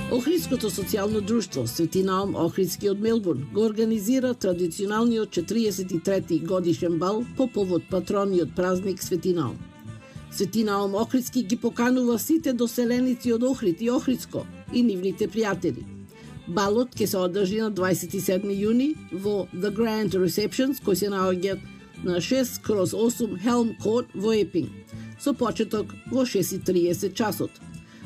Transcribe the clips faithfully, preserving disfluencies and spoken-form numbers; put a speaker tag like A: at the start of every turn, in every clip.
A: Охридското социјално друштво Свети Наум Охридски од Мелбурн го организира традиционалниот четириесет и трети годишен бал по повод патрониот празник Свети Наум. Свети Наум Охридски ги поканува сите доселеници од Охрид и Охридско и нивните пријатели. Балот ќе се одржи на дваесет и седми јуни во The Grand Receptions, кој се наоѓа на шест кроз осум Helm Court во Епинг, со почеток во шест и триесет часот.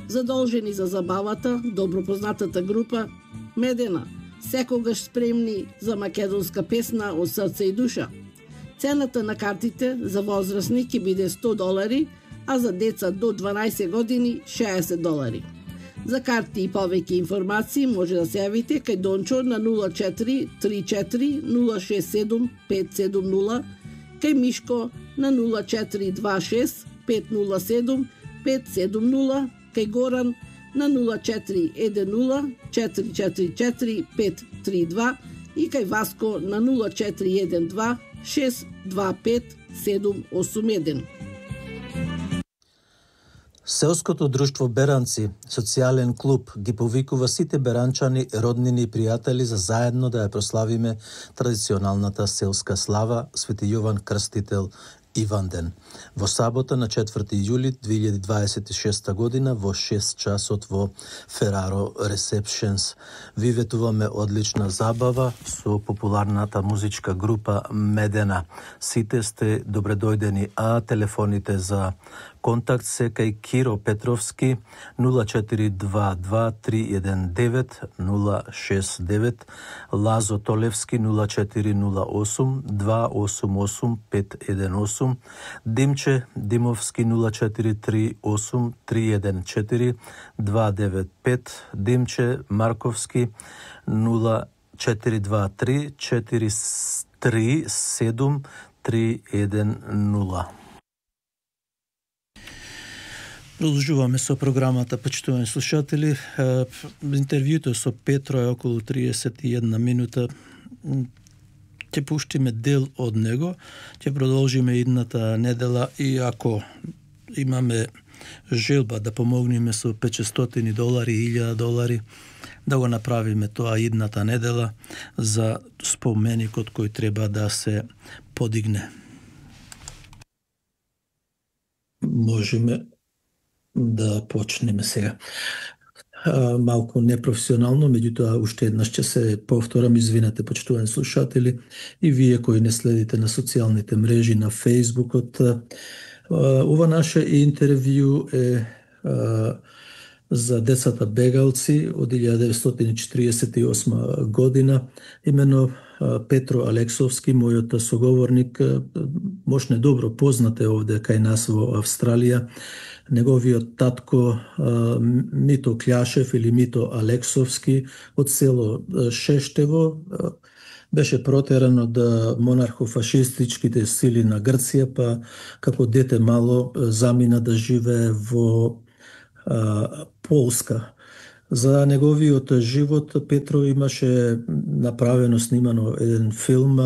A: Задолжени за забавата, добро познатата група Медена, секогаш спремни за македонска песна од срце и душа. Цената на картите за возрастни ќе биде сто долари, а за деца до дванаесет години шеесет долари. За карти и повеќе информации може да се јавите кај Дончо на нула четири три четири нула шест седум пет седум нула, кај Мишко на нула четири два шест пет нула седум пет седум нула, кај Горан на нула четири еден нула четири четири четири пет три два и кај Васко на нула четири еден два шест два пет седум осум еден.
B: Селското друштво Беранци, социјален клуб, ги повикува сите беранчани, роднини и пријатели за заедно да ја прославиме традиционалната селска слава Свети Јован Крстител Иванден. Во сабота на четврти јули две илјади дваесет и шеста година во шест часот во Ferraro Receptions. Ви ветуваме одлична забава со популарната музичка група Медена. Сите сте добредојдени, а телефоните за контакт се кај Киро Петровски нула четири два два три еден девет нула шест девет, Лазо Толевски нула четири нула осум два осум осум пет еден осум, Димче Димовски нула четири три осум три еден четири два девет пет, Димче Марковски нула четири два три четири три седум три еден нула.
C: Продолжуваме со програмата, почитувани слушатели. Интервјуто со Петро е околу триесет и една минута. Ќе пуштиме дел од него, ќе продолжиме идната недела и ако имаме желба да помогнеме со петстотини долари, илјада долари, да го направиме тоа идната недела за споменикот кој треба да се подигне. Можеме да почнеме сега. А, малку непрофесионално, меѓутоа уште еднаш ќе се повторам, извинете почитувани слушатели и вие кои не следите на социјалните мрежи, на Фејсбукот. Ова наше интервју е а, за децата бегалци од илјада деветстотини четириесет и осма година. Имено Петро Алексовски, мојот соговорник, можне добро познате овде кај нас во Австралија. Неговиот татко Мито Кљашев или Мито Алексовски од село Шештево беше протеран од монархофашистичките сили на Грција, па како дете мало замина да живее во а, Полска. За неговиот живот Петро имаше направено, снимано еден филм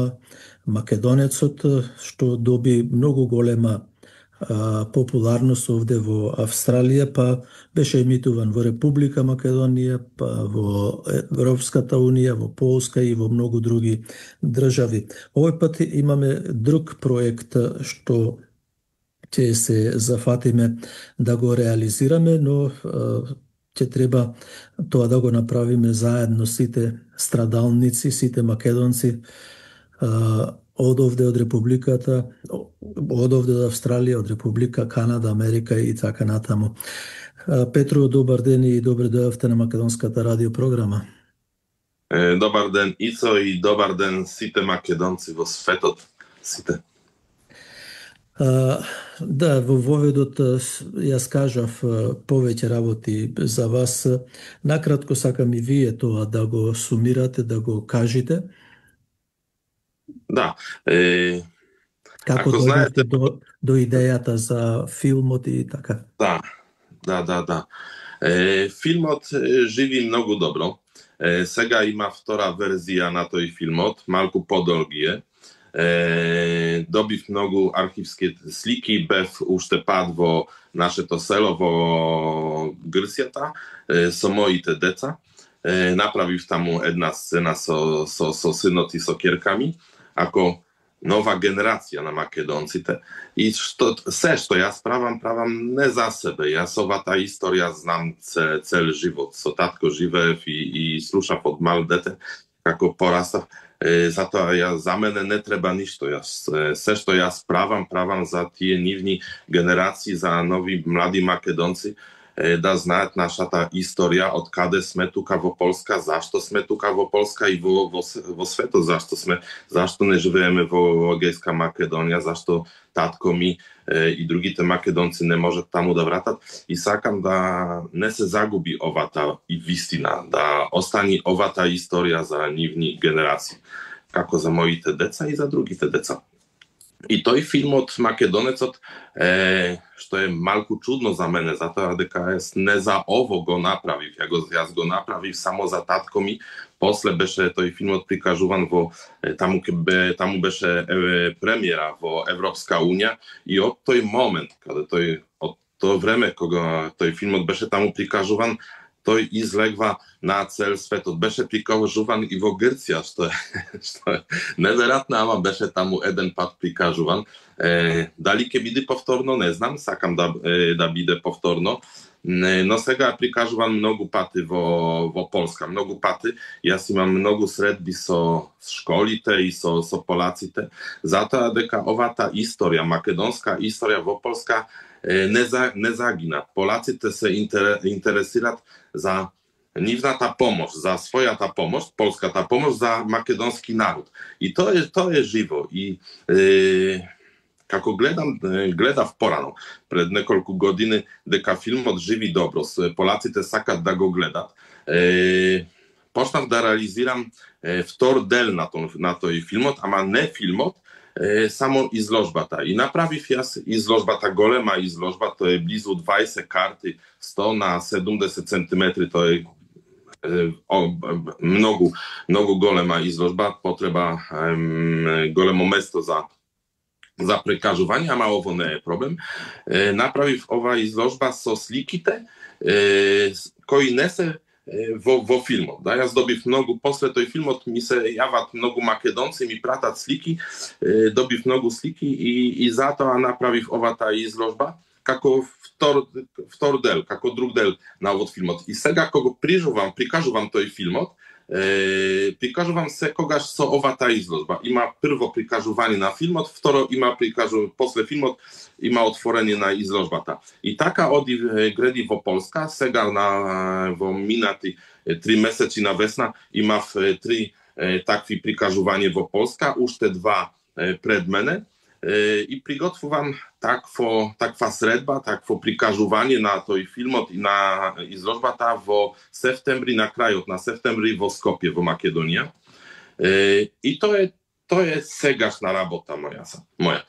C: Македонецот, што доби многу голема а, популарност овде во Австралија, па беше емитуван во Република Македонија, па во Европската Унија, во Полска и во многу други држави. Овој пат имаме друг проект што ќе се зафатиме да го реализираме, но ќе треба тоа да го направиме заедно сите страдалници, сите македонци од овде од Републиката, од овде од Австралија, од Република Канада, Америка и така натаму. Петро, добар ден и добре дојавте на Македонската радиопрограма.
D: Добар ден, Ицо, и добар ден сите македонци во светот, сите.
C: Uh, да, во воведот јас кажав повеќе работи за вас. Накратко сакам и вие тоа да го сумирате, да го кажете.
D: Да. Е...
C: Како дојдете знаете... до, до идејата за филмот и така?
D: Да, да, да, да. Е, филмот живи многу добро. Е, сега има втора верзија на тој филмот, малку подолги е. Е, добив многу архивски слики, бев уште пат во нашето село во Грцјата е, со моите деца. Е, направив таму една сцена со, со, со синот и со ќерками, ако нова генерација на македонците. И што, се што јас правам, правам не за себе. Јас овата историја знам цел, цел живот. Со татко живеев и, и слушав од мал дете, како порастав. Е, затоа ја, за мене не треба ништо. Јас, е, се што јас правам, правам за тие нивни генерации, за нови млади македонци, е, да знаат нашата историја, од каде сме тука во Полска, зашто сме тука во Полска и во, во, во светот, зашто сме, зашто не живееме во Егејска Македонија, зашто татко ми е, и другите македонци не можат таму да вратат. И сакам да не се загуби овата и вистина, да остани овата историја за нивни генерации, како за моите деца и за другите деца. И тој филмот Македонецот е, што е малку чудно за мене, затоа дека јас не за ово го направив, ја го, јас го направив само за татко ми. После беше тој филмот прикажуван во таму бе, таму беше е, премиера во Европска унија и од тој момент, каде тој од тоа време кога тој филмот беше таму прикажуван, тој излегва на цел светот. Беше прикажуван и во Грција, што е, што е неверојатно, ама беше таму еден пат прикажуван. Е, дали ќе биде повторно, не знам, сакам да, е, да биде повторно, не, но сега е прикажуван многу пати во, во Полска, многу пати. Јас имам многу средби со школите и со, со полаците, затоа дека овата историја, македонска историја во Полска, Не, за, не загина. Полаците се интер, интересират за нивната помош, за својата помош, полската помош за македонски народ. И тоа е, тоа е живо. И е, како гледам, гледав порано, пред неколку години, дека филмот живи добро, полаците сакат да го гледат. Е, почнав да реализирам е, втор дел на, то, на тој филмот, ама не филмот, Е, само изложбата. И направив јас изложбата, голема изложба, тоа е близу дваесет карти, сто на седумдесет сантиметри, тоа е, е о, многу, многу голема изложба, потреба е, големо место за за прикажување, ама ово не е проблем. Е, направив ова изложба со сликите, е, кои не се Во, во филмот. Да, јас добив многу, после тој филмот ми се јават многу македонци, ми пратат слики, е, добив многу слики и, и затоа направив овата изложба како втор, втор дел, како друг дел на овој филмот. И сега кога прижувам, прикажувам тој филмот, е, прикажувам секогаш со овата изложба. Има прво прикажување на филмот, второ има прикажување, после филмот има отворење на изложбата. И така оди гради во Полска, сега на, во минати три месеци на весна имав три е, такви прикажувања во Полска, уште два е, пред мене. И приготвувам такво, таква средба, такво прикажување на тој филмот и на изложбата во септември, на крајот на септември во Скопје, во Македонија. И тоа е, тоа е сегашна работа моја. моја.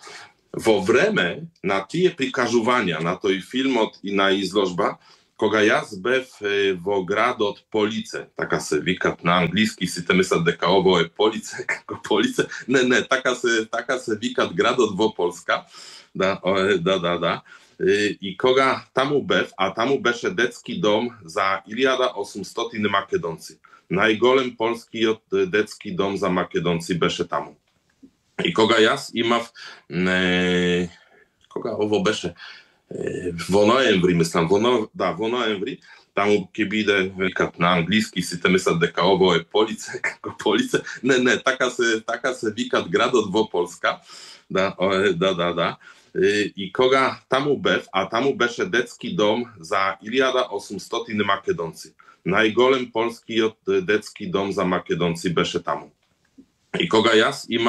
D: Во време на тие прикажувања на тој филмот и на изложба, кога јас бев е, во градот Полице, така се викат на англиски, сите мислат дека ово е Полице, како Полице. Не, не, така се така се викат градот во Полска. Да, да, да, да. И, и кога таму бев, а таму беше детски дом за илјада и осумстотини македонци. Најголем полскиот детски дом за македонци беше таму. И кога јас имав не кога ово беше во ноември, мислам, во но... да, во ноември, таму ќе биде, викат на англиски, сите мислат дека ово е Полице, како Полице. Не, не, така се така се викат градот во Полска. Да, да, да, да. И, и кога таму бев, а таму беше детски дом за илјада и осумстотини македонци. Најголем полскиот детски дом за македонци беше таму. И кога јас имам